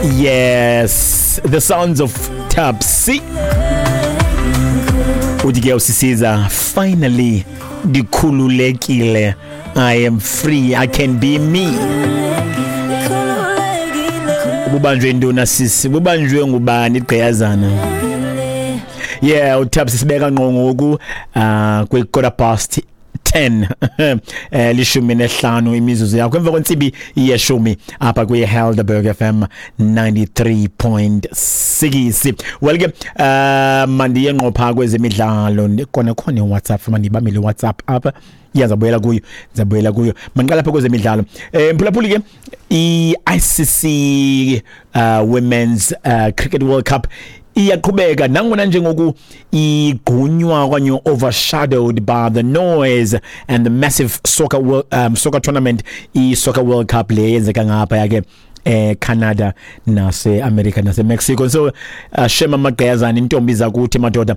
Yes, the sounds of Tapsi. Uthi ke usisiza, finally ndikhululekile. I am free. I can be me. Ububanjwe intoni sisi? Bubanjwe ngubani igqiyazana? Yeah, uTapsi sibeka ngqo ngoku kwi 10:15, 15 imizuzu yakho emva kwentsimbi yeshumi apha kwi-Helderberg FM 93.6. Well ke, mandiye ngqo phaa kwezemidlalo. Kona khona iWhatsApp, mandibambele iWhatsApp apha. Iyazabuyela kuyo, ndizabuyela kuyo. Mandiqala apha kwezemidlalo. Mphulaphuli ke, i-ICC Women's Cricket World Cup iyaqhubeka nangona njengoku igqunywa okanye overshadowed by the noise and the massive soccer tournament, i-Soccer World Cup le yenzeka ngapha yake eCanada nase America nase Mexico. So shema amagqiyazana, intombi zakuthi madoda,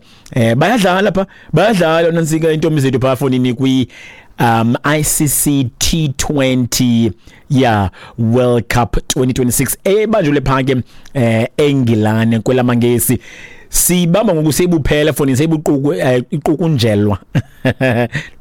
bayadlala pha, bayadlala nansika intombi zethu pha fonini kwi ICC T20, yeah, World Cup 2026 ebanjwe pha ke eNgilane kwelamangesi. Sibamba ngoku seyibuphela foni, seyibuquku, iqukunjelwa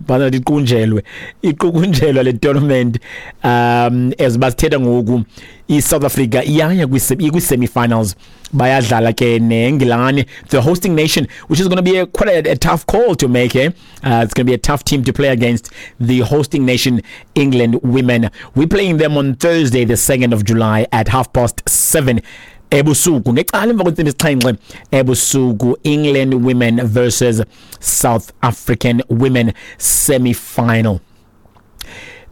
bana, iqunjelwe, iqukunjelwa le tournament. As basithetha ngoku, iSouth Africa iyaya kwi-semi-finals, bayadlala ke neNgilane, the hosting nation, which is going to be quite a tough call to make, eh? It's going to be a tough team to play against, the hosting nation England women. We're playing them on Thursday the 2nd of July at 7:30 ebusuku, ngecala emva kwentsimbi 7 ebusuku. England women versus South African women, semi-final,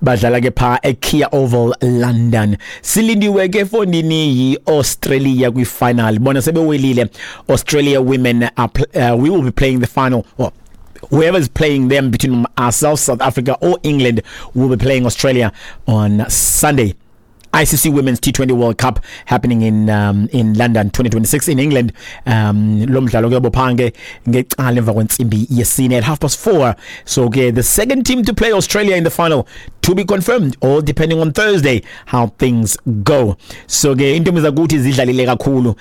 badlala ke pha eKia Oval, London. Silindiwe ke fondini yi-Australia kwi-final. Bona sebewelile. Australia women are we will be playing the final, well, whoever is playing them between ourselves, South Africa or England, will be playing Australia on Sunday. ICC Women's T20 World Cup happening in London 2026 in England. Lo mdlalo ke bophange ngecala emva kwentsimbi yesine, at 4:30. So ke the second team to play Australia in the final to be confirmed, all depending on Thursday how things go. So ke intombi zakuthi zidlalile kakhulu,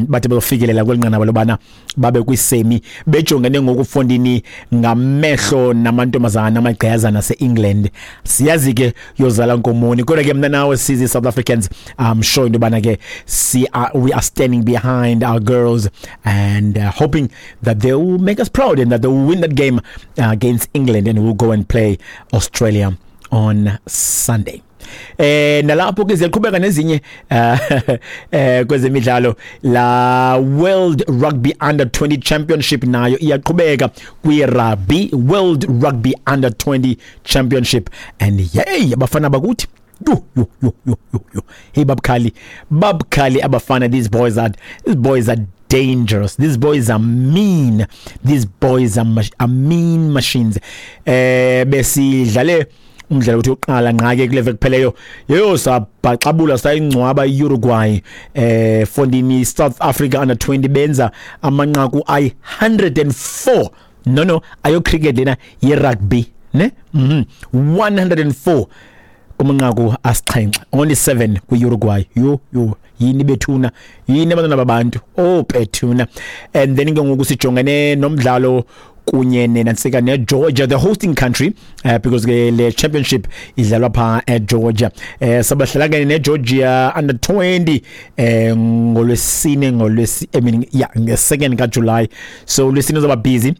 bathe bafikelela kwelinqanaba lobana babe kwisemi, bejongene ngokufondini ngamehlo namantombazana amagqiyazana ase-England. Siyazi ke yozala nkomoni, kodwa ke mna nawe sizi South Africans, I'm sure into yobana ke we are standing behind our girls and hoping that they will make us proud and that they will win that game against England and we'll go and play Australia on Sunday. Nalapho ke ziyaqhubeka nezinye kwezemidlalo. La World Rugby Under 20 Championship nayo iyaqhubeka kwi Rugby World Rugby Under 20 Championship, and yey, abafana bakuthi, yo yo yo yo yo yo, hey, babukhali, babukhali abafana. These boys are dangerous. These boys are mean. These boys are mean machines. Besidlale umdlalo uthi uqala ngqake kule veki kupheleyo, yeyo, sabhaxabula, sayingcwaba iUruguay. Fondini, South Africa Under 20 benza amanqaku ayi 104. No, ayo cricket lena, ye rugby ne. 104 kumanqaku asixhenxe, only 7 kwi-Uruguay. Yo yo, yini bethuna, yini abantwana babantu, oh bethuna. And then ke ngoku sijongene nomdlalo kunye nenantsika neGeorgia, the hosting country, because ke le championship idlalwa pha eGeorgia. Sabahlala ke neGeorgia Under 20 ngolwesine, ngolwesi, I mean, yeah, nge2nd kaJuly. So lwesine zoba busy.